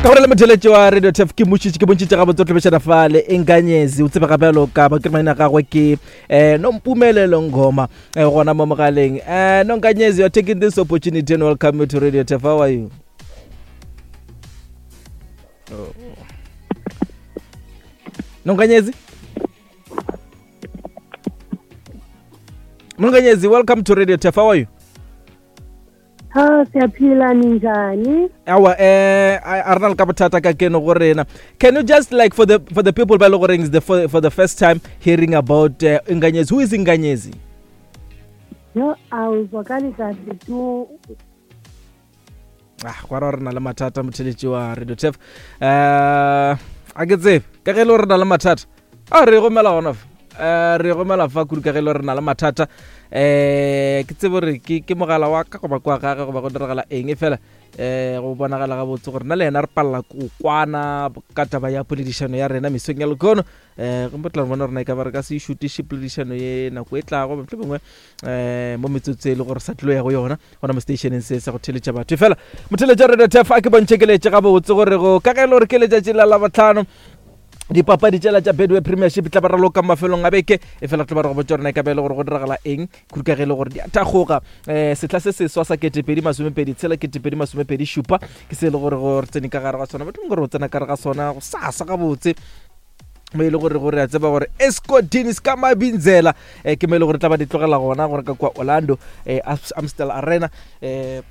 Ka gore le motheletši wa Radio Tef ke mošitše ke bontšitše gabotse o tlobešana fa le Inkanyezi o tsebega bjalo ka ba ke maina gagwe ke eh Nompumelelo Ngoma eh, gona mo mogaleng. Eh Nonkanyezi, you are taking this opportunity and welcome you to Radio Tef. How are you? Oh. Nonkanyezi? Nonkanyezi, welcome to Radio Tef. How are you? Ha siyaphila ninjani? Awa eh a re na le ka bothata ka keno go rena. Can you just like for the people ba le goreng is the for the first time hearing about Inkanyezi. Who is Inkanyezi? Yo awuzwakali kahle tu. Ah, gwa re na le mathata motheletši wa Radio Tef. Eh a ke tsebe ka ge le re na le mathata. A re gomela gona fa. Eh re gomela fa kudu ka ge le re na le mathata. Eh ke tsebe gore ke ke mogala wa ka goba kwa gage goba go diragala eng e fela eh go bonagala gabotse gore na le yena re palela ko kwana ka taba ya poledišano ya rena mesong ya lekono. Eh go tla bona rena e ka ba re ka se šutiše poledišano ye nako e tlago mohlomongwe eh mo metsotso e le gore sa tlilo ya go yona gona mo stationeng se sa go theletša batho. Fela motheletša Radio Tef a ke bontšhe keletše gabotse gore go ka ge e le gore ke letšatši la Labohlano dipapadi tšela tša Betway Premiership tla ba raloka mafelong a beke e fela tlo ba re go botša rena e ka ba e le gore go diragala eng kudu ka ge e le gore di a thakgoga um sehla se seswa sa 2026 2027 ke se e le gore go re tsene ka gare ga sona batho gore o tsena ka gare ga sona go sasa gabotse mo e le gore gore a tseba gore Escodini ska mabinzela eh, ke mo e le gore tla ba di tlogela gona gore ka kwa Orlando eh, Amstel Arena eh,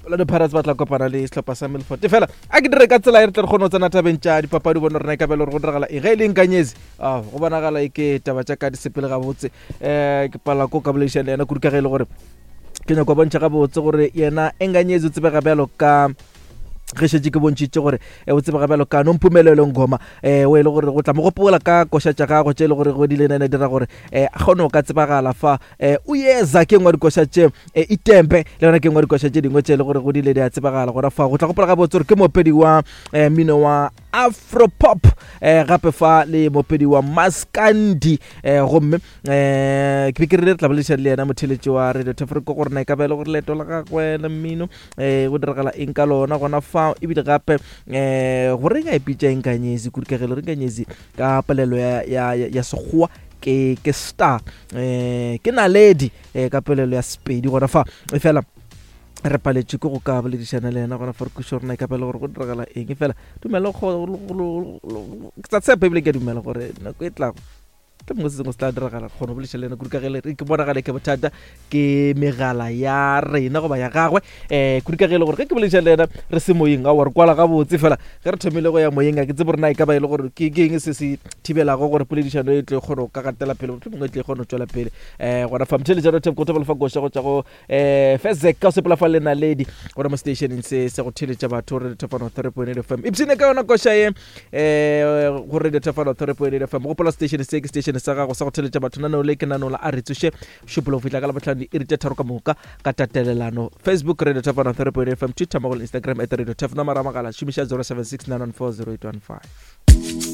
Orlando Pirates ba tla kopana le sehlopha sa Milford. Fela a ke dire ka tsela e re tle re kgone go tsena tabeng tša dipapadi bone rena e ka bele gore go diragala eng ge e le Nkanyezi. Ah, go bonagala e ke taba tša ka di sepele gabotse. Eh, ke pala ko ka boledišana le yena kudu ka ge e le gore ke nyako bontšha gabotse gore yena Nkanyezi o tsebega bjalo ka ge šetše ke bontšhitše gore eh, o tsebega bjalo ka Nompumelelo Ngoma um o e le gore go tla mo gopola ka koša tša gagwe tše e le gore go di le dira gore um a kgone go ka tsebagala fa um o yeza ke nngwe dikoša tše um itempe le yona ke nngwe dikoša tše dingwe tše e le gore go dile di a tsebagala gona fa go tla gopola gabotse gore ke moopedi wa um mmino wa afropop um gape fa le moopedi wa maskandi um gomme um ke be ke rile re tla boledišana le yena motheletši wa Radio Tafriko gore na e ka ba e le gore leeto la gagwe la mmino um go diragala eng ka lona gona fa ebile gape um gore ka ipitša Inkanyezi kudu ka ge le re Inkanyezi ka polelo ya, ya, ya, ya sekgowa ke ke star um ke naledi um ka polelo ya Sepedi gona fa e fela re paletše ke go ka boledišana le yena gona fa re kwešiša gore na e ka ba le gore go diragala eng e fela dumela ke tsa tshepa ebile ke a dumela gore nako e tlago Tla mongwe se sengwe se tla diragala, re kgona go bolediša le yena kudu ka ge le ke bonagale ke bothata ke megala ya rena goba ya gagwe um kudu ka ge e le gore ge ke bolediša le yena re se moyeng aowa re kwala gabotse fela ge re thomile go ya moyeng a ke tsebe gore na e ka ba e le gore ke eng se se thibelago gore poledišano e tle kgone go ka gatela pele mohlomongwe e tle kgone go tšwela pele um gona fa motheletša rothep go thobela fa koša go tša go eh Fezek ka sepela fa le naledi gona mo stationeng se se go theletša batho Radio Thefano 3.8 FM ipsene ka yona koša ye eh go Radio Thefano 3.8 FM gopola station se ke station sa gago sa go theletša batho naneo le ke naneo la a re tsoše šupolo go fihla ka labohlano diiri tše tharo ka moka ka tatelelano Facebook Radio Thefano 3.8 FM Twitter mo go Instagram at Radio Thef nomoro ya mogala šomiša 076 914 0815.